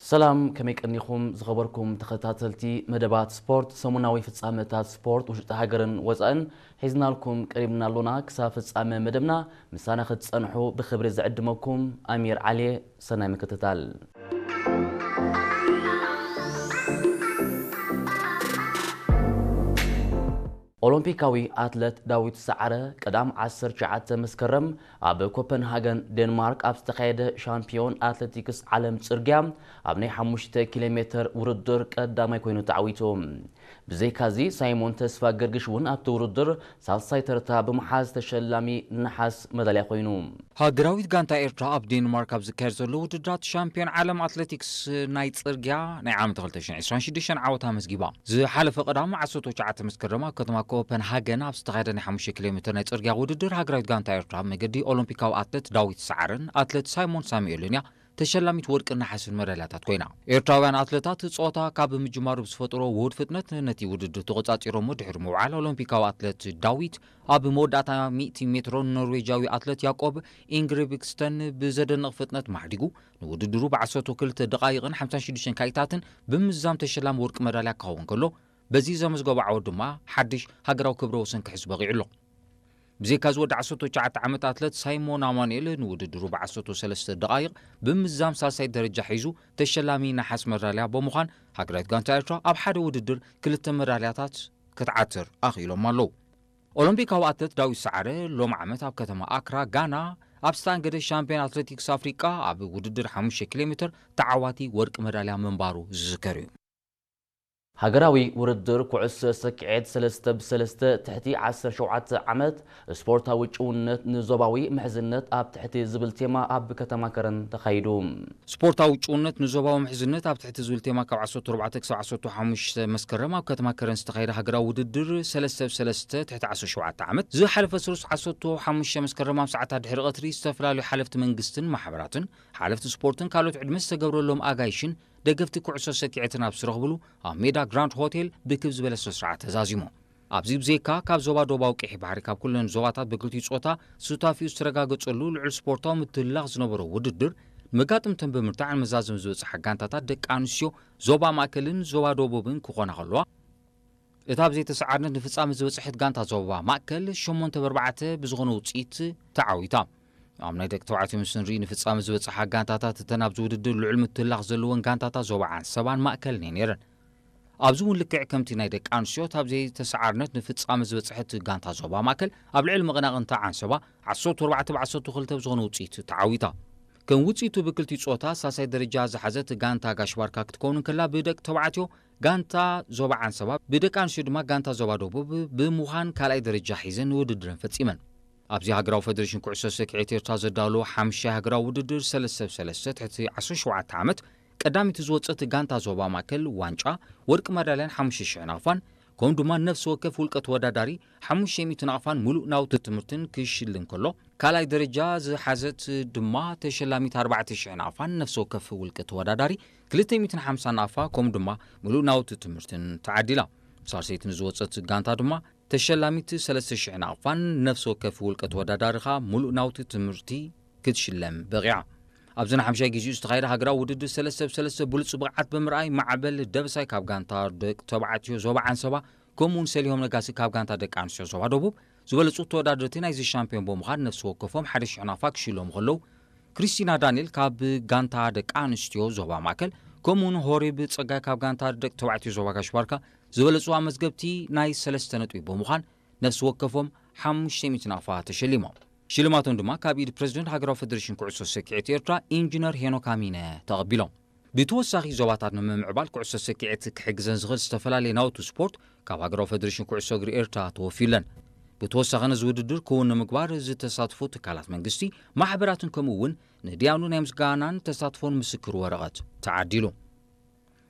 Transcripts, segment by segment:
ሰላም፣ ከመይ ቀኒኹም ዝኸበርኩም ተኸታተልቲ መደባት ስፖርት? ሰሙናዊ ፍጻመታት ስፖርት ውሽጢ ሃገርን ወጻእን ሒዝናልኩም ቀሪብና ኣሎና። ክሳብ ፍጻመ መደብና ምሳና ክትጸንሑ ብኽብሪ ዝዕድመኩም ኣሚር ዓሊ። ሰናይ ምክትታል። ኦሎምፒካዊ ኣትለት ዳዊት ሰዓረ ቀዳም ዓሰርተ ትሽዓተ መስከረም ኣብ ኮፐንሃገን ዴንማርክ ኣብ ዝተኻየደ ሻምፒዮን ኣትሌቲክስ ዓለም ጽርግያ ኣብ ናይ ሓሙሽተ ኪሎ ሜተር ውድድር ቀዳማይ ኮይኑ ተዓዊቱ። ብዘይካዚ ሳይሞን ተስፋ ገርግሽ እውን ኣብቲ ውድድር ሳልሳይ ተርታ ብምሓዝ ተሸላሚ ነሓስ መዳልያ ኮይኑ። ሃገራዊት ጋንታ ኤርትራ ኣብ ዴንማርክ ኣብ ዝካየድ ዘሎ ውድድራት ሻምፒዮን ዓለም ኣትሌቲክስ ናይ ጽርግያ ናይ ዓመት ክልተ ሽሕን ዕስራን ሽዱሽተን ዓወት ኣመዝጊባ። ዝሓለፈ ቀዳም ዓሰርተ ትሽዓተ መስከረም ኣብ ከተማ ኮፐንሃገን ኣብ ዝተኻየደ ናይ ሓሙሽተ ኪሎ ሜተር ናይ ጽርግያ ውድድር ሃገራዊት ጋንታ ኤርትራ መገዲ ኦሎምፒካዊ ኣትሌት ዳዊት ሰዓረን ኣትሌት ሳይሞን ሳሙኤልን እያ ተሸላሚት ወርቅን ነሓስን መዳልያታት ኮይና። ኤርትራውያን ኣትሌታት ጾታ ካብ ምጅማሩ ብዝፈጠሮ ውሁድ ፍጥነት ነቲ ውድድር ተቖጻጺሮሞ ድሕሪ ምውዓል ኦሎምፒካዊ ኣትሌት ዳዊት ኣብ መወዳእታ ሚእቲ ሜትሮ ኖርዌጃዊ ኣትሌት ያቆብ ኢንግሪብክስተን ብዘደንቕ ፍጥነት ማዕዲጉ ንውድድሩ ብዓሰርተ ክልተ ደቓይቕን ሓምሳን ሽዱሽተን ካኢታትን ብምዝዛም ተሸላሚ ወርቂ መዳልያ ክኸውን ከሎ፣ በዚ ዘመዝገቦ ዓወት ድማ ሓድሽ ሃገራዊ ክብረ ወሰን ክሕዝ በቒዑ ኣሎ። ብዘይካ እዚ ወዲ ዓሰርተ ትሽዓተ ዓመት ኣትለት ሳይሞን ኣማኑኤል ንውድድሩ ብዓሰርተ ሰለስተ ደቓይቕ ብምዝዛም ሳልሳይ ደረጃ ሒዙ ተሸላሚ ነሓስ መዳልያ ብምዃን ሃገራዊት ጋንታ ኤርትራ ኣብ ሓደ ውድድር ክልተ መዳልያታት ክትዓትር ኣኽኢሎም ኣለዉ። ኦሎምፒካዊ ኣትለት ዳዊት ሰዓረ ሎም ዓመት ኣብ ከተማ ኣክራ ጋና ኣብ ዝተኣንገደ ሻምፒዮን ኣትሌቲክስ ኣፍሪቃ ኣብ ውድድር ሓሙሽተ ኪሎ ሜትር ተዓዋቲ ወርቂ መዳልያ ምንባሩ ዝዝከር እዩ። ሃገራዊ ውድድር ኩዕሶ ሰኪዔት ሰለስተ ብሰለስተ ትሕቲ ዓሰርተ ሸውዓተ ዓመት ስፖርታዊ ጭውነት ንዞባዊ ምሕዝነት ኣብ ትሕቲ ዝብል ቴማ ኣብ ከተማ ከረን ተኻይዱ። ስፖርታዊ ጭውነት ንዞባዊ ምሕዝነት ኣብ ትሕቲ ዝብል ቴማ ካብ ዓሰርተ ኣርባዕተ ክሳብ ዓሰርተ ሓሙሽተ መስከረም ኣብ ከተማ ከረን ዝተኻየደ ሃገራዊ ውድድር ሰለስተ ብሰለስተ ትሕቲ ዓሰርተ ሸውዓተ ዓመት ዝሓለፈ ስሉስ ዓሰርተ ሓሙሽተ መስከረም ኣብ ሰዓታት ድሕሪ ቀትሪ ዝተፈላለዩ ሓለፍቲ መንግስትን ማሕበራትን ሓለፍቲ ስፖርትን ካልኦት ዕድመ ዝተገብረሎም ኣጋይሽን ደገፍቲ ኩዕሶ ሰኪዔትን ኣብ ዝረኽብሉ ኣብ ሜዳ ግራንድ ሆቴል ብክብ ዝበለ ስነ ስርዓት ተዛዚሙ። ኣብዚ ብዘይካ ካብ ዞባ ደቡባዊ ቀይሕ ባሕሪ ካብ ኩለን ዞባታት ብክልቲኡ ጾታ ሱታፊኡ ዝተረጋገጸሉ ልዑል ስፖርታዊ ምትልላኽ ዝነበሮ ውድድር ንመጋጥምተን ብምርታዕ ንመዛዘሚ ዝበጽሓ ጋንታታት ደቂ ኣንስትዮ ዞባ ማእከልን ዞባ ደቡብን ክኾና ከለዋ፣ እታ ብዘይተሰዓርነት ንፍጻመ ዝበጽሐት ጋንታ ዞባ ማእከል ሸሞንተ ብ ኣርባዕተ ብዝኾነ ውጽኢት ተዓዊታ። ኣብ ናይ ደቂ ተባዕትዮ ምስ ንርኢ ንፍጻመ ዝበጽሓ ጋንታታት እተን ኣብዚ ውድድር ልዑል ምትላኽ ዘለወን ጋንታታት ዞባ ዓንሰባን ማእከልን እየን ነይረን። ኣብዚ እውን ልክዕ ከምቲ ናይ ደቂ ኣንስትዮ እታ ብዘይተሰዓርነት ንፍጻመ ዝበጽሐት ጋንታ ዞባ ማእከል ኣብ ልዕሊ መቐናቕንታ ዓንሰባ ዓሰርተ ኣርባዕተ ብ ዓሰርተ ክልተ ብዝኾነ ውጽኢት ተዓዊታ። ከም ውጽኢቱ ብክልቲኡ ጾታ ሳልሳይ ደረጃ ዝሓዘት ጋንታ ጋሽ ባርካ ክትከውን እንከላ ብደቂ ተባዕትዮ ጋንታ ዞባ ዓንሰባ ብደቂ ኣንስትዮ ድማ ጋንታ ዞባ ደቡብ ብምዃን ካልኣይ ደረጃ ሒዘን ንውድድረን ፈጺመን። ኣብዚ ሃገራዊ ፈደሬሽን ኩዕሶ ሰኪዔት ኤርትራ ዘዳለዎ ሓምሻይ ሃገራዊ ውድድር ሰለስተ ብ ሰለስተ ትሕቲ ዓሰርተ ሸውዓተ ዓመት ቀዳሚቱ ዝወጸት ጋንታ ዞባ ማእከል ዋንጫ ወርቂ መዳልያን ሓሙሽተ ሽሕ ናቕፋን ከምኡ ድማ ነፍሲ ወከፍ ውልቀ ተወዳዳሪ ሓሙሽተ ሚእቲ ናቕፋን ሙሉእ ናውቲ ትምህርትን ክሽልም ከሎ፣ ካልኣይ ደረጃ ዝሓዘት ድማ ተሸላሚት ኣርባዕተ ሽሕ ናቕፋን ነፍሲ ወከፍ ውልቀ ተወዳዳሪ ክልተ ሚእትን ሓምሳን ናቕፋ ከምኡ ድማ ሙሉእ ናውቲ ትምህርትን ተዓዲላ። ሳልሰይቲ ንዝወጸት ጋንታ ድማ ተሸላሚት ሰለስተ ሽሕ ናቕፋን ነፍሲ ወከፍ ውልቀ ተወዳዳሪ ኸኣ ሙሉእ ናውቲ ትምህርቲ ክትሽለም በቒዓ። ኣብዚ ንሓምሻይ ግዜኡ ዝተኻየደ ሃገራዊ ውድድር ሰለስተ ብ ሰለስተ ብሉጽ ብቕዓት ብምርኣይ ማዕበል ደበሳይ ካብ ጋንታ ደቂ ተባዕትዮ ዞባ ዓንሰባ ከምኡውን ሰሊሆም ነጋሲ ካብ ጋንታ ደቂ ኣንስትዮ ዞባ ደቡብ ዝበለጹ ተወዳደርቲ ናይዚ ሻምፒዮን ብምዃን ነፍሲ ወከፎም ሓደ ሽሕ ናቕፋ ክሽለሙ ከለዉ፣ ክሪስቲና ዳንኤል ካብ ጋንታ ደቂ ኣንስትዮ ዞባ ማእከል ከምኡውን ሆሪብ ጸጋይ ካብ ጋንታ ደቂ ተባዕትዮ ዞባ ጋሽ ባርካ ዝበለጹ ኣመዝገብቲ ናይ ሰለስተ ነጥቢ ብምዃን ነፍሲ ወከፎም ሓሙሽተ ሚእቲ ናቕፋ ተሸሊሞም። ሽልማቶም ድማ ካብ ኢድ ፕረዚደንት ሃገራዊ ፈደሬሽን ኩዕሶ ሰኪዔት ኤርትራ ኢንጂነር ሄኖክ ኣሚነ ተቐቢሎም። ብተወሳኺ ዞባታት ንምምዕባል ኩዕሶ ሰኪዔት ክሕግዘን ዝኽእል ዝተፈላለየ ናውቲ ስፖርት ካብ ሃገራዊ ፈደሬሽን ኩዕሶ እግሪ ኤርትራ ተወፊለን። ብተወሳኺ ነዚ ውድድር ክውን ንምግባር ዝተሳትፉ ትካላት መንግስቲ፣ ማሕበራትን ከምኡ እውን ንድያኑ ናይ ምስጋናን ተሳትፎን ምስክር ወረቐት ተዓዲሉ።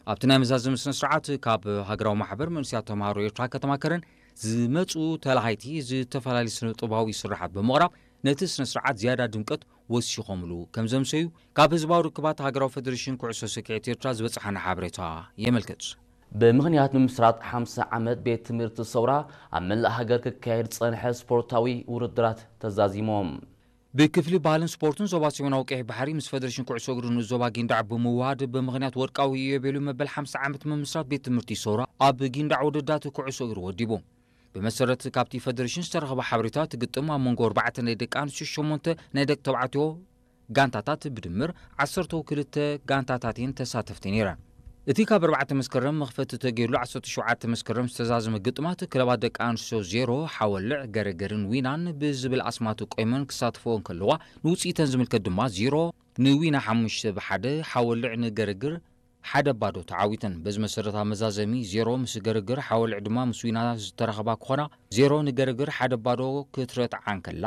ኣብቲ ናይ መዛዘሚ ስነ ስርዓት ካብ ሃገራዊ ማሕበር መንእሰያት ተምሃሮ ኤርትራ ከተማ ከረን ዝመጹ ተላሃይቲ ዝተፈላለዩ ስነ ጥበባዊ ስርሓት ብምቕራብ ነቲ ስነ ስርዓት ዝያዳ ድምቀት ወሲኾምሉ ከም ዘምሰዩ ካብ ህዝባዊ ርክባት ሃገራዊ ፈደሬሽን ኩዕሶ ሰኪዔት ኤርትራ ዝበጽሓና ሓበሬታ የመልክት። ብምኽንያት ምምስራት ሓምሳ ዓመት ቤት ትምህርቲ ሰውራ ኣብ መላእ ሃገር ክካየድ ዝጸንሐ ስፖርታዊ ውድድራት ተዛዚሞም። ብክፍሊ ባህልን ስፖርትን ዞባ ሰሜናዊ ቀይሕ ባሕሪ ምስ ፈደሬሽን ኩዕሶ እግሪ ንኡስ ዞባ ጊንዳዕ ብምውሃድ ብምኽንያት ወርቃዊ ኢዮቤልዩ መበል ሓምሳ ዓመት ምምስራት ቤት ትምህርቲ ሶራ ኣብ ጊንዳዕ ውድዳት ኩዕሶ እግሪ ወዲቡ። ብመሰረት ካብቲ ፈደሬሽን ዝተረኸበ ሓበሬታ እቲ ግጥም ኣብ መንጎ ኣርባዕተ ናይ ደቂ ኣንስትዮ ሸሞንተ ናይ ደቂ ተባዕትዮ ጋንታታት ብድምር ዓሰርተ ክልተ ጋንታታት እየን ተሳተፍቲ ነይረን። እቲ ካብ ኣርባዕተ መስከረም መኽፈቲ ተገይርሉ ዓሰርተ ሸውዓተ መስከረም ዝተዛዘመ ግጥማት ክለባት ደቂ ኣንስትዮ ዜሮ ሓወልዕ ገረገርን ዊናን ብዝብል ኣስማት ቆይመን ክሳተፈኦ እንከለዋ ንውፅኢተን ዝምልከት ድማ ዜሮ ንዊና ሓሙሽተ ብሓደ ሓወልዕ ንገረግር ሓደ ባዶ ተዓዊተን። በዚ መሰረት ኣብ መዛዘሚ ዜሮ ምስ ገረግር ሓወልዕ ድማ ምስ ዊና ዝተረኸባ ክኾና ዜሮ ንገረግር ሓደ ባዶ ክትረትዓ እንከላ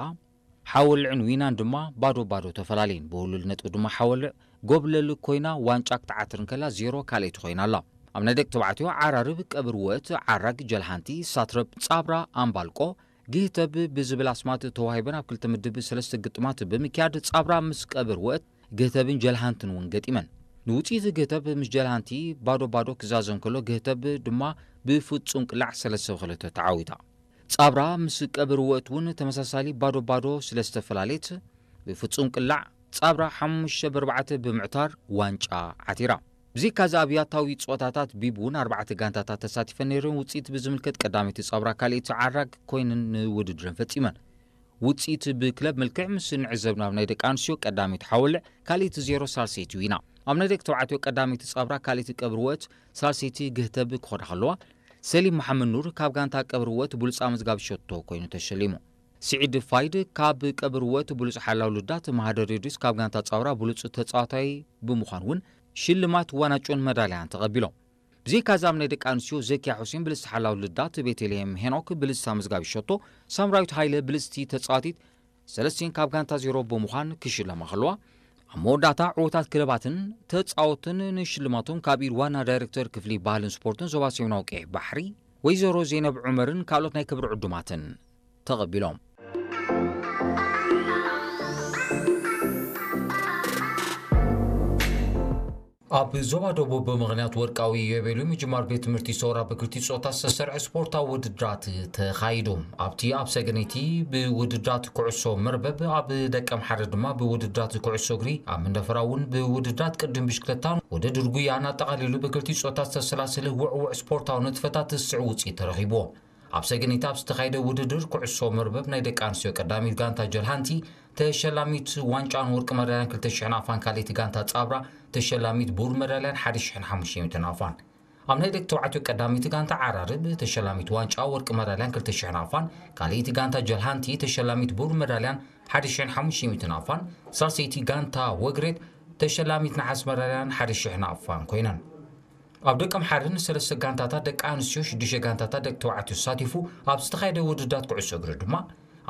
ሓወልዕን ዊናን ድማ ባዶ ባዶ ተፈላለየን። ብውሉል ነጥቢ ድማ ሓወልዕ ጎብለል ኮይና ዋንጫ ክትዓትር እንከላ ዜሮ ካልኣይቲ ኮይና ኣላ። ኣብ ናይ ደቂ ተባዕትዮ ዓራርብ ቀብር ወት ዓራግ ጀልሃንቲ ሳትረብ ጻብራ ኣምባልቆ ግህተብ ብዝብል ኣስማት ተዋሂበን ኣብ ክልተ ምድብ ሰለስተ ግጥማት ብምክያድ ጻብራ ምስ ቀብር ወት ግህተብን ጀልሃንትን እውን ገጢመን። ንውፅኢት ግህተብ ምስ ጀልሃንቲ ባዶ ባዶ ክዛዘም ከሎ ግህተብ ድማ ብፍጹም ቅላዕ ሰለስተ ብክልተ ተዓዊታ። ጻብራ ምስ ቀብር ወት እውን ተመሳሳሊ ባዶ ባዶ ስለ ዝተፈላለየት ብፍጹም ቅላዕ ጻብራ ሓሙሽተ ብኣርባዕተ ብምዕታር ዋንጫ ዓቲራ። ብዘይካዚ ኣብ ያታዊ ጸወታታት ቢብ እውን ኣርባዕተ ጋንታታት ተሳቲፈን ነይረን። ውጽኢት ብዝምልከት ቀዳመይቲ ጻብራ ካልኣይቲ ዓራግ ኮይነን ንውድድረን ፈጺመን። ውጽኢት ብክለብ መልክዕ ምስ ንዕዘብ ናብ ናይ ደቂ ኣንስትዮ ቀዳመይቲ ሓወልዕ ካልኣይቲ ዜሮ ሳልሰይቲ ዊና። ኣብ ናይ ደቂ ተባዕትዮ ቀዳመይቲ ጻብራ ካልኣይቲ ቀብር ወት ሳልሰይቲ ግህተብ ክኾና ከለዋ ሰሊም መሓመድ ኑር ካብ ጋንታ ቀብር ወት ብሉጽ ኣመዝጋቢ ሸቶ ኮይኑ ተሸሊሙ። ስዒድ ፋይድ ካብ ቀብር ወት ብሉጽ ሓላው ልዳት፣ ማህደር ሬድዮስ ካብ ጋንታ ጻውራ ብሉጽ ተጻዋታይ ብምዃን እውን ሽልማት ዋናጮን መዳልያን ተቐቢሎም። ብዘይካዚ ኣብ ናይ ደቂ ኣንስትዮ ዘኪያ ሑሴን ብልጽቲ ሓላው ልዳት፣ ቤተልሔም ሄኖክ ብልጽቲ ኣመዝጋቢ ሸቶ፣ ሳምራዊት ሃይለ ብልጽቲ ተጻዋቲት ሰለስቲን ካብ ጋንታ ዜሮ ብምዃን ክሽለማ ከለዋ፣ ኣብ መወዳእታ ዕዉታት ክለባትን ተጻወትን ንሽልማቶም ካብ ኢድ ዋና ዳይሬክተር ክፍሊ ባህልን ስፖርትን ዞባ ሰሜናዊ ቀይሕ ባሕሪ ወይዘሮ ዜነብ ዑመርን ካልኦት ናይ ክብሪ ዕዱማትን ተቐቢሎም። ኣብ ዞባ ደቡብ ብምኽንያት ወርቃዊ ኢዮቤልዩ ምጅማር ቤት ትምህርቲ ሶራ ብክልቲኡ ጾታ ዝተሰርዐ ስፖርታዊ ውድድራት ተኻይዱ። ኣብቲ ኣብ ሰገነይቲ ብውድድራት ኩዕሶ መርበብ ኣብ ደቀምሓረ ድማ ብውድድራት ኩዕሶ እግሪ ኣብ መንደፈራ እውን ብውድድራት ቅድም ብሽክለታን ውድድር ጉያን ኣጠቓሊሉ ብክልቲኡ ጾታ ዝተሰላሰለ ውዕውዕ ስፖርታዊ ንጥፈታት ዝስዕብ ውፅኢት ተረኺብዎ። ኣብ ሰገነይቲ ኣብ ዝተኻየደ ውድድር ኩዕሶ መርበብ ናይ ደቂ ኣንስትዮ ቀዳሚት ጋንታ ጀልሃንቲ ተሸላሚት ዋንጫን ወርቂ መዳልያን ክልተ ሽሕን ኣፋን ካልኣይቲ ጋንታ ጻብራ ተሸላሚት ብሩር መዳልያን ሓደ ሽሕን ሓሙሽተ ሚእትን ኣፋን። ኣብ ናይ ደቂ ተባዕትዮ ቀዳሚት ጋንታ ዓራርብ ተሸላሚት ዋንጫ ወርቂ መዳልያን ክልተ ሽሕን ኣፋን ካልኣይቲ ጋንታ ጀልሃንቲ ተሸላሚት ብሩር መዳልያን ሓደ ሽሕን ሓሙሽተ ሚእትን ኣፋን ሳልሰይቲ ጋንታ ወግሬት ተሸላሚት ነሓስ መዳልያን ሓደ ሽሕን ኣፋን ኮይነን። ኣብ ደቀምሓረ ንሰለስተ ጋንታታት ደቂ ኣንስትዮ ሽዱሽተ ጋንታታት ደቂ ተባዕትዮ ተሳቲፉ ኣብ ዝተኻየደ ውድዳት ኩዕሶ እግሪ ድማ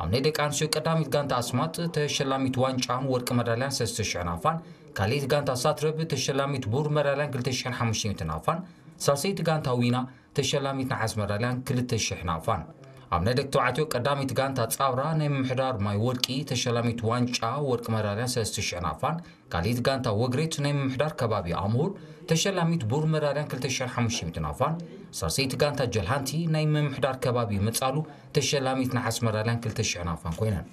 ኣብ ናይ ደቂ ኣንስትዮ ቀዳሚት ጋንታ ኣስማጥ ተሸላሚት ዋንጫን ወርቂ መዳልያን ሰለስተ ሽሕን ኣፋን ካልኣይቲ ጋንታ ሳትረብ ተሸላሚት ብሩር መዳልያን ክልተ ሽሕን ሓሙሽተ ሚእትን ኣፋን ሳልሰይቲ ጋንታ ዊና ተሸላሚት ነሓስ መዳልያን ክልተ ሽሕን ኣፋን። ኣብ ናይ ደቂ ተባዕትዮ ቀዳሚት ጋንታ ጻውራ ናይ ምምሕዳር ማይ ወርቂ ተሸላሚት ዋንጫ ወርቂ መዳልያን ሰለስተ ሽሕን ኣፋን ካልኣይቲ ጋንታ ወግሬት ናይ ምምሕዳር ከባቢ ኣምሁር ተሸላሚት ብሩር መዳልያን ክልተ ሽሕን ሓሙሽተ ሚእትን ኣፋን ሳልሰይቲ ጋንታ ጀልሃንቲ ናይ ምምሕዳር ከባቢ መጻሉ ተሸላሚት ነሓስ መዳልያን ክልተ ሽሕን ኣፋን ኮይነን።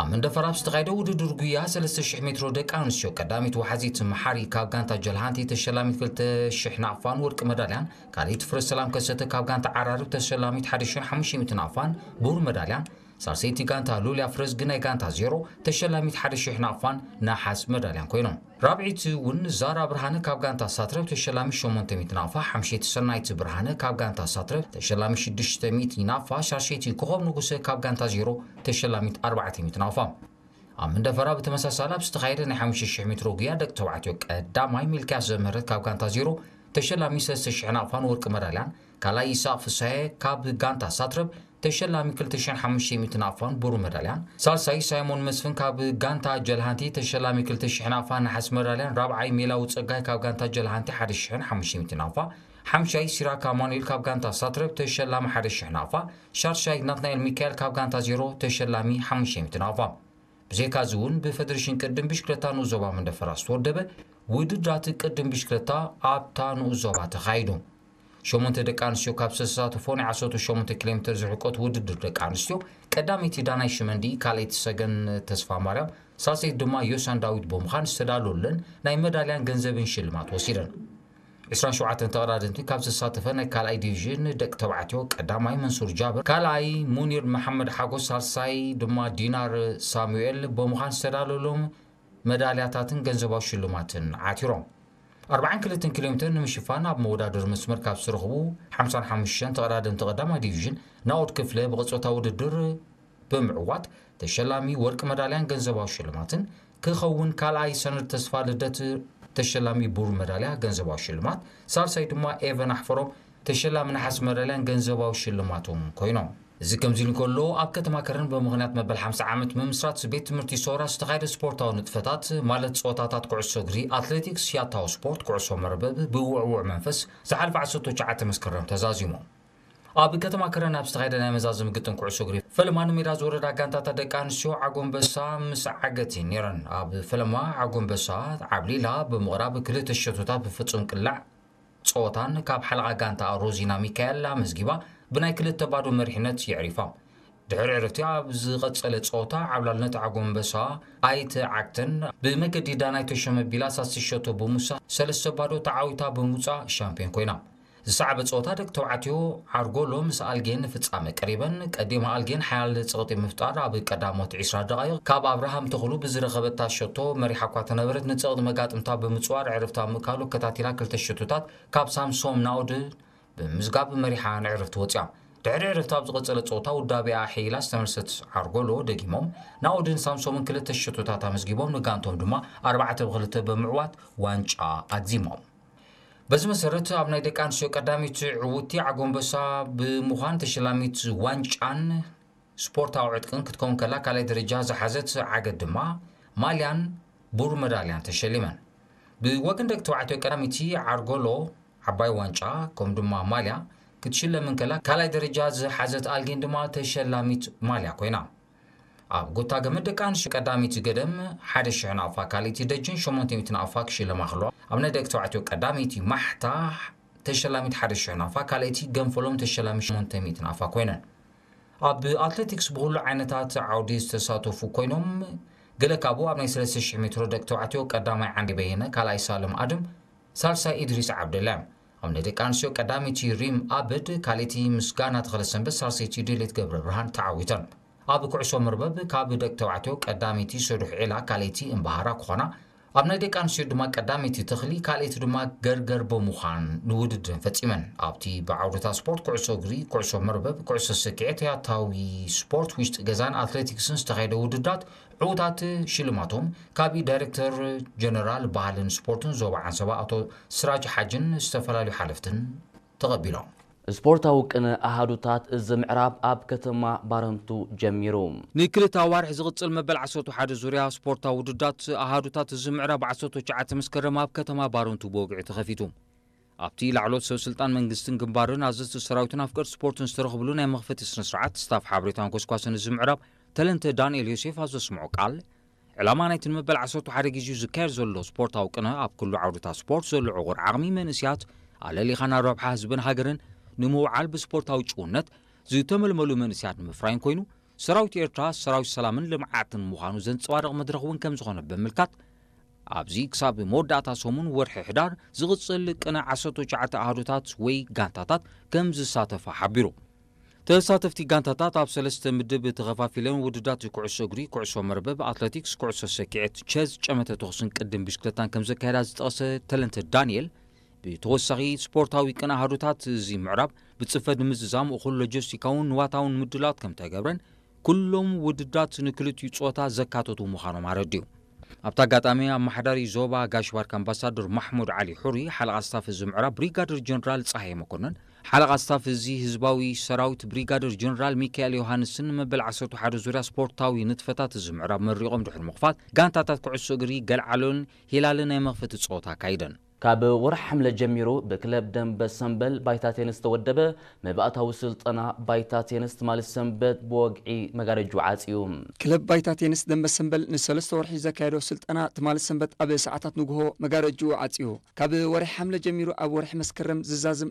ኣብ መንደፈራ ኣብ ዝተኻየደ ውድድር ጉያ ሰለስተ ሽሕ ሜትሮ ደቂ ኣንስትዮ ቀዳሚት ወሓዚት መሓሪ ካብ ጋንታ ጀልሃንቲ ተሸላሚት ክልተ ሽሕ ናቕፋን ወርቂ መዳልያን ካልኣይቲ ፍረ ሰላም ከሰተ ካብ ጋንታ ዓራርብ ተሸላሚት ሓደ ሽሕን ሓሙሽተ ሚእትን ኣፋን ብሩር መዳልያን ሳልሰይቲ ጋንታ ሉልያ ፍረዝጊ ናይ ጋንታ ዜሮ ተሸላሚት ሓደ ሽሕ ናቕፋን ነሓስ መዳልያን ኮይኖም። ራብዒቲ እውን ዛራ ብርሃነ ካብ ጋንታ ሳትረብ ተሸላሚ ሸሞንተ ሚእቲ ናቕፋ፣ ሓምሸይቲ ሰናይት ብርሃነ ካብ ጋንታ ሳትረብ ተሸላሚ ሽዱሽተ ሚእቲ ናቕፋ፣ ሻሸይቲ ኮኾብ ንጉሰ ካብ ጋንታ ዜሮ ተሸላሚት ኣርባዕተ ሚእቲ ናቕፋ። ኣብ መንደፈራ ብተመሳሳሊ ኣብ ዝተኻየደ ናይ ሓሙሽተ ሽሕ ሜትሮ ጉያ ደቂ ተባዕትዮ ቀዳማይ ሚልክያስ ዘምህረት ካብ ጋንታ ዜሮ ተሸላሚ ሰለስተ ሽሕ ናቕፋን ወርቂ መዳልያን፣ ካልኣይ ይስሐቅ ፍስሃየ ካብ ጋንታ ሳትረብ ተሸላሚ ክልተ ሽሕን ሓሙሽተ ሚእቲ ናቕፋን ብሩር መዳልያን፣ ሳልሳይ ሳይሞን መስፍን ካብ ጋንታ ጀልሃንቲ ተሸላሚ ክልተ ሽሕ ናቕፋን ነሓስ መዳልያን፣ ራብዓይ ሜላዊ ጸጋይ ካብ ጋንታ ጀልሃንቲ ሓደ ሽሕን ሓሙሽተ ሚእቲ ናቕፋ፣ ሓምሻይ ሲራክ ኣማኑኤል ካብ ጋንታ ሳትረብ ተሸላሚ ሓደ ሽሕ ናቕፋ፣ ሻድሻይ ናትናኤል ሚካኤል ካብ ጋንታ ዜሮ ተሸላሚ ሓሙሽተ ሚእቲ ናቕፋ። ብዘይካዚ እውን ብፈደሬሽን ቅድም ብሽክለታ ንኡስ ዞባ መንደፈራ ዝተወደበ ውድድራት ቅድም ብሽክለታ ኣብታ ንኡስ ዞባ ተኻይዱ። ሸሞንተ ደቂ ኣንስትዮ ካብ ዝተሳተፎ ናይ ዓሰርተ ሸሞንተ ኪሎ ሜትር ዝርሕቀት ውድድር ደቂ ኣንስትዮ፣ ቀዳመይቲ ዳናይ ሽመንዲ፣ ካልኣይቲ ሰገን ተስፋ ማርያም፣ ሳልሰይቲ ድማ ዮሳን ዳዊት ብምዃን ዝተዳለወለን ናይ መዳልያን ገንዘብን ሽልማት ወሲደን። ዕስራን ሸውዓተን ተቐዳደምቲ ካብ ዝተሳተፈ ናይ ካልኣይ ዲቪዥን ደቂ ተባዕትዮ፣ ቀዳማይ መንሱር ጃብር፣ ካልኣይ ሙኒር መሓመድ ሓጎስ፣ ሳልሳይ ድማ ዲናር ሳሙኤል ብምዃን ዝተዳለወሎም መዳልያታትን ገንዘባዊ ሽልማትን ዓቲሮም። ኣርባዓን ክልተን ኪሎ ሜትር ንምሽፋን ኣብ መወዳደሪ መስመር ካብ ዝተረኽቡ ሓምሳን ሓሙሽተን ተቐዳደምቲ ቀዳማይ ዲቪዥን ናኦድ ክፍለ ብቐጾታ ውድድር ብምዕዋት ተሸላሚ ወርቂ መዳልያን ገንዘባዊ ሽልማትን ክኸውን፣ ካልኣይ ሰነድ ተስፋ ልደት ተሸላሚ ብሩር መዳልያ ገንዘባዊ ሽልማት፣ ሳልሳይ ድማ ኤቨን ኣሕፈሮም ተሸላሚ ነሓስ መዳልያን ገንዘባዊ ሽልማትን ኮይኖም። እዚ ከምዚ ኢሉ እንከሎ፣ ኣብ ከተማ ከረን ብምኽንያት መበል ሓምሳ ዓመት ምምስራት ቤት ትምህርቲ ሶራ ዝተኻየደ ስፖርታዊ ንጥፈታት፣ ማለት ጸወታታት ኩዕሶ እግሪ፣ ኣትሌቲክስ፣ ያታዊ ስፖርት፣ ኩዕሶ መርበብ፣ ብውዕዉዕ መንፈስ ዝሓለፈ ዓሰርተ ትሽዓተ መስከረም ተዛዚሙ። ኣብ ከተማ ከረን ኣብ ዝተኻየደ ናይ መዛዘሚ ግጥም ኩዕሶ እግሪ፣ ፈለማ ንሜዳ ዝወረዳ ጋንታታት ደቂ ኣንስትዮ ዓጎንበሳ ምስ ዓገቲ ነይረን። ኣብ ፈለማ ዓጎንበሳ ዓብሊላ ብምቕራብ ክልተ ሸቶታት ብፍጹም ቅላዕ ጸወታን ካብ ሓለቓ ጋንታ ሮዚና ሚካኤል ኣመዝጊባ ብናይ ክልተ ባዶ መሪሕነት የዕሪፋ። ድሕሪ ዕረፍቲ ኣብ ዝቐጸለ ጸወታ ዓብላልነት ዓጎንበሳ ኣይተዓግተን። ብመገዲ ዳናይ ተሾመ ቢላ ሳስቲ ሸቶ ብምውሳኽ ሰለስተ ባዶ ተዓዊታ ብምውጻእ ሻምፒዮን ኮይና። ዝሰዓበ ጸወታ ደቂ ተባዕትዮ ዓርጎሎ ምስ ኣልጌን ንፍጻመ ቀሪበን። ቀዲማ ኣልጌን ሓያል ጸቕጢ ምፍጣር ኣብ ቀዳሞት ዕስራ ደቓይቕ ካብ ኣብርሃም ተኽሉ ብዝረኸበታ ሸቶ መሪሓ እኳ ተነበረት፣ ንጸቕጢ መጋጥምታ ብምጽዋር ዕረፍታ ምእካሉ ኣከታቲላ ክልተ ሸቶታት ካብ ሳምሶም ናኦድ ብምምዝጋብ መሪሓ ንዕረፍቲ ወጺኣ። ድሕሪ ዕረፍቲ ኣብ ዝቐጸለ ጸወታ ውዳቤኣ ኣሐይላ ዝተመልሰት ዓርጎሎ ደጊሞም ናኦድን ሳምሶምን ክልተ ሸቶታት ኣመዝጊቦም ንጋንቶም ድማ ኣርባዕተ ብክልተ ብምዕዋት ዋንጫ ኣግዚሞም። በዚ መሰረት ኣብ ናይ ደቂ ኣንስትዮ ቀዳሚት ዕውቲ ዓጎንበሳ ብምዃን ተሸላሚት ዋንጫን ስፖርታዊ ዕጥቅን ክትከውን ከላ፣ ካልኣይ ደረጃ ዝሓዘት ዓገት ድማ ማልያን ብሩር መዳልያን ተሸሊመን። ብወገን ደቂ ተባዕትዮ ቀዳሚቲ ዓርጎሎ ዓባይ ዋንጫ ከምኡ ድማ ማልያ ክትሽለም እንከላ፣ ካልኣይ ደረጃ ዝሓዘት ኣልጌን ድማ ተሸላሚት ማልያ ኮይና። ኣብ ጎታ ገመድ ደቂ ኣንስትዮ ቀዳሚቲ ገደም ሓደ ሽሕ ናቕፋ፣ ካልኣይቲ ደጅን ሸሞንተ ሚእቲ ናቕፋ ክሽለማ ከለዋ፣ ኣብ ናይ ደቂ ተባዕትዮ ቀዳሚቲ ማሕታ ተሸላሚት ሓደ ሽሕ ናቕፋ፣ ካልኣይቲ ገንፈሎም ተሸላሚ ሸሞንተ ሚእቲ ናቕፋ ኮይነን። ኣብ ኣትሌቲክስ ብኹሉ ዓይነታት ዓውዲ ዝተሳተፉ ኮይኖም፣ ገለ ካብኡ ኣብ ናይ ሰለስተ ሽሕ ሜትሮ ደቂ ተባዕትዮ ቀዳማይ ዓንዲ በየነ፣ ካልኣይ ሳልም ኣድም፣ ሳልሳይ ኢድሪስ ዓብደላ እዮም። ኣብ ናይ ደቂ ኣንስትዮ ቀዳመይቲ ሪም ኣበድ፣ ካልኣይቲ ምስጋና ተኽለሰንበት፣ ሳልሰይቲ ድሌት ገብረ ብርሃን ተዓዊተን። ኣብ ኩዕሶ መርበብ ካብ ደቂ ተባዕትዮ ቀዳመይቲ ሰዱሕ ዒላ፣ ካልኣይቲ እምበሃራ ክኾና፣ ኣብ ናይ ደቂ ኣንስትዮ ድማ ቀዳመይቲ ተኽሊ፣ ካልኣይቲ ድማ ገርገር ብምዃን ንውድድረን ፈጺመን። ኣብቲ ብዓውድታት ስፖርት ኩዕሶ እግሪ፣ ኩዕሶ መርበብ፣ ኩዕሶ ሰኪዔት፣ ያታዊ ስፖርት ውሽጢ ገዛን ኣትሌቲክስን ዝተኻየደ ውድድራት ዕዉታት ሽልማቶም ካብ ዳይሬክተር ጀነራል ባህልን ስፖርትን ዞባ ዓንሰባ ኣቶ ስራጅ ሓጅን ዝተፈላለዩ ሓለፍትን ተቐቢሎም። ስፖርታዊ ቅነ ኣሃዱታት እዚ ምዕራብ ኣብ ከተማ ባረንቱ ጀሚሩ። ንክልተ ኣዋርሕ ዝቕጽል መበል ዓሰርተ ሓደ ዙርያ ስፖርታዊ ውድዳት ኣሃዱታት እዚ ምዕራብ ዓሰርተ ትሽዓተ መስከረም ኣብ ከተማ ባረንቱ ብወግዒ ተኸፊቱ። ኣብቲ ላዕሎት ሰብ ስልጣን መንግስትን ግንባርን ኣዘዝቲ ሰራዊትን ኣፍቀርቲ ስፖርትን ዝተረኽብሉ ናይ መኽፈቲ ስነ ስርዓት ስታፍ ሓበሬታን ኮስኳስን እዚ ምዕራብ ተለንተ ዳንኤል ዮሴፍ ኣብ ዘስምዖ ቃል፣ ዕላማ ናይቲ ንመበል ዓሰርተ ሓደ ግዜኡ ዝካየድ ዘሎ ስፖርታዊ ቅነ ኣብ ኩሉ ዓውድታት ስፖርት ዘሎ ዕቑር ዓቕሚ መንእስያት ኣለሊኻ ናብ ረብሓ ህዝብን ሃገርን ንምውዓል ብስፖርታዊ ጭውነት ዝተመልመሉ መንእስያት ንምፍራይን ኮይኑ፣ ሰራዊት ኤርትራ ሰራዊት ሰላምን ልምዓትን ምዃኑ ዘንጸባርቕ መድረኽ እውን ከም ዝኾነ ብምምልካት፣ ኣብዚ ክሳብ መወዳእታ ሰሙን ወርሒ ሕዳር ዝቕጽል ቅነ ዓሰርተ ትሽዓተ ኣሃዱታት ወይ ጋንታታት ከም ዝሳተፋ ሓቢሩ። ተሳተፍቲ ጋንታታት ኣብ ሰለስተ ምድብ ተኸፋፊለን ውድዳት ኩዕሶ እግሪ፣ ኩዕሶ መርበብ፣ ኣትለቲክስ፣ ኩዕሶ ሰኪዔት፣ ቸዝ፣ ጨመተ ተኹስን ቅድም ብሽክለታን ከም ዘካየዳ ዝጠቐሰ ተለንተ ዳንኤል፣ ብተወሳኺ ስፖርታዊ ቅነ ኣሃዱታት እዚ ምዕራብ ብጽፈት ንምዝዛም እኹል ሎጂስቲካውን ንዋታውን ምድላዋት ከም ተገብረን ኩሎም ውድዳት ንክልቲኡ ጾታ ዘካተቱ ምዃኖም ኣረዲኡ። ኣብቲ ኣጋጣሚ ኣመሓዳሪ ዞባ ጋሽ ባርካ ኣምባሳደር ማሕሙድ ዓሊ ሑሪ፣ ሓለቓ ስታፍ እዚ ምዕራብ ብሪጋደር ጀነራል ጸሃየ መኮነን፣ ሓለቓ ስታፍ እዚ ህዝባዊ ሰራዊት ብሪጋደር ጀነራል ሚካኤል ዮሃንስን መበል ዓሰርተ ሓደ ዙርያ ስፖርታዊ ንጥፈታት እዚ ምዕራብ መሪቖም ድሕሪ ምኽፋት፣ ጋንታታት ኩዕሶ እግሪ ገልዓሎን ሂላልን ናይ መኽፈቲ ጸወታ ኣካይደን። ካብ ወርሒ ሓምለ ጀሚሩ ብክለብ ደንበ ሰምበል ባይታ ቴንስ ዝተወደበ መባእታዊ ስልጠና ባይታ ቴንስ ትማሊ ሰንበት ብወግዒ መጋረጅኡ ዓጽዩ። ክለብ ባይታ ቴንስ ደንበ ሰምበል ንሰለስተ ወርሒ ዘካየዶ ስልጠና ትማሊ ሰንበት ኣብ ሰዓታት ንግሆ መጋረጅኡ ዓጽዩ። ካብ ወርሒ ሓምለ ጀሚሩ ኣብ ወርሒ መስከረም ዝዛዝም